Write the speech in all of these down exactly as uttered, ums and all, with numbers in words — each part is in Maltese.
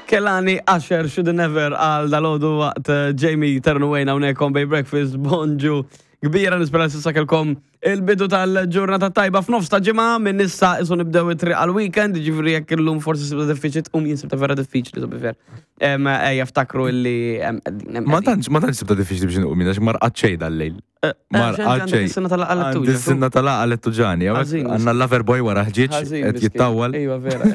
Kehlani, Usher, Shoulda Never għal dalgħodu waqt eh, Jamie Ternu Wayne hawnhekk on Bay Breakfast, bonġu. Kbira, nispera s'issa kelkom il-bidu tal-ġurnata tajba f'nofs ta' ġimgħa. Minn issa isu nibdew it-triq għal-weekend, ġifieri jekk illum forsi sibta diffiċli tqum, jien sibta vera diffiċli, to be fair. Em, Ejja ftakru illi em, qegħdin, em, Ma qegħdin. tantx ma tantx sibta diffiċli biex nqum għax ma rqadt xejn dal-lejl. Eh, Ma eh, x'inti għandek xejn. is-sinna tal-għaqal Għandi tuġa, s-sinna tal-għaqal tuġani. Ħażin, Għandna l-lover boy wara ħġieġ Ħażin, qed miskin. jittawwal. Iva, vera.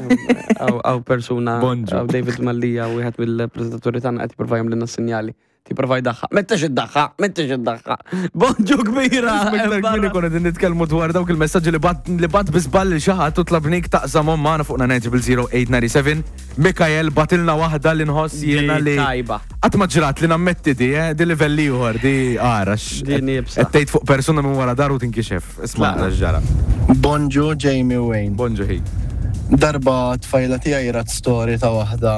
Hawn persuna. Bonġu. Hawn David Mallia, wieħed mill-preżentaturi tagħna, qed jipprova jagħmlilna sinjali. Tipprova jdaħħa. M'intix iddaħħa, m'intix iddaħħa. Bonġu kbira. Iktar kmieni konna din nitkellmu dwar dawk il-messaġġi li bagħat li bagħat bi żball lil xi ħadd u tlabnik taqsamhom magħna fuq nine zero zero eight nine seven. Mikael bagħtilna waħda li nħoss jiena li Tajba. qatt ma ġrat li nammetti di, eh, di livelli ieħor, di għarax. Di nibsa. Qed tgħid fuq persuna minn wara daru tinkixef. Isma' Tlaqna. ġara. Bonġu, Jamie, Wayne. Bonġu ħi. Darba tfajla tiegħi rat story ta' waħda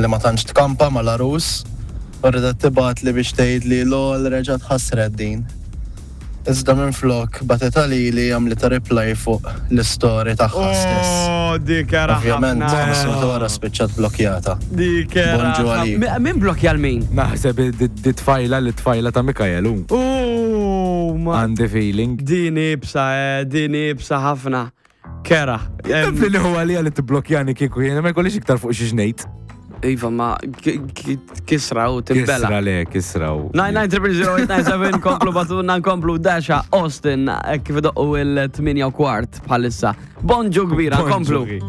li ma tantx tkampa mal-għarus u ridet tibgħat li biex tgħid li lol reġgħet ħasret din. Iżda minn flok bagħtet li għamlitha reply fuq l-story tagħha stess. Oh, dik era Ovvjament, ħafna. ħames minuti wara spiċċat blokkjata. Dik era. Bonġu għalik. Mi- Min blokja l-min? Naħseb di di tfajla li tfajla ta' Mikael hu. Oh, ma. Għandi feeling. Din ibsa, eh, din ibsa ħafna. Kera. Taf li huwa li li tibblokjani kieku jiena ma jkollix iktar fuq xi ngħid. Iva, ma ki- ki- kisra u timbela. Kisra le, kisra u. nine nine zero zero eight nine seven, komplu bagħtulna, nkomplu Dasha, Austin, eh, kif idoqqu il-tmienja u kwart bħalissa. Bonġu kbira, Bonġu komplu. ħi.